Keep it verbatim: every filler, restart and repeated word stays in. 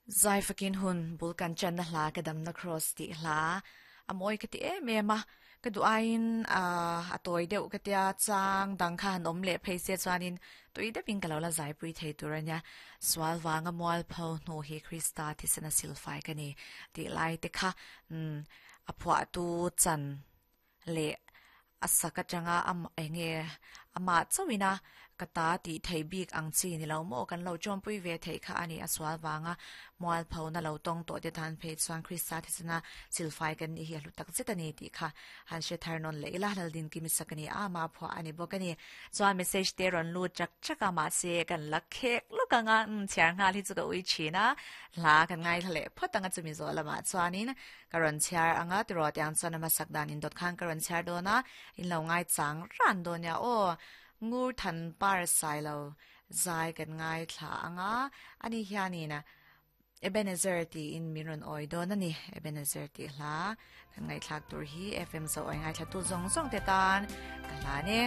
Zai fakin hun bul kan chan na hla ka dam na cross ti hla a moi ka ti em em a ka du ain a a toy deuh ka tia chang dang kha han om le phei se chuanin tui deuhin ka lo la zai pui thei tur ania sual wanga mual pho hnu hi Krista thisena silfai ka ni ti lai te kha um a phua tu chan le a saka changa am enge ama chawina kata ti thei bik ang chi ni lo mo kan lo chom pui ve thei kha ani aswal wanga mual pho na lo tong to te than phe chuan Krista thisena silfai kan ni hi hlu tak zet ani ti kha han she thar non le ila lal din kimi sakani a ma pho ani bokani chuan message te ron lu chak chaka ma se kan lakhek lukanga um chiar nga li chu ka ui china la kan ngai thale photanga chumi zo lama chuanin karon chiar anga tiro tiang chuan ama sakdan in dot khan karon chiar dona in lo ngai chang ran do nya o ngur than par sai lo zai kan ngai thla anga ani hiani na Ebenezer ti in miron oi do na ni Ebenezer ti hla kan ngai thlak tur hi F M zo oi ngai thla tu zong zong te tan ka la ne.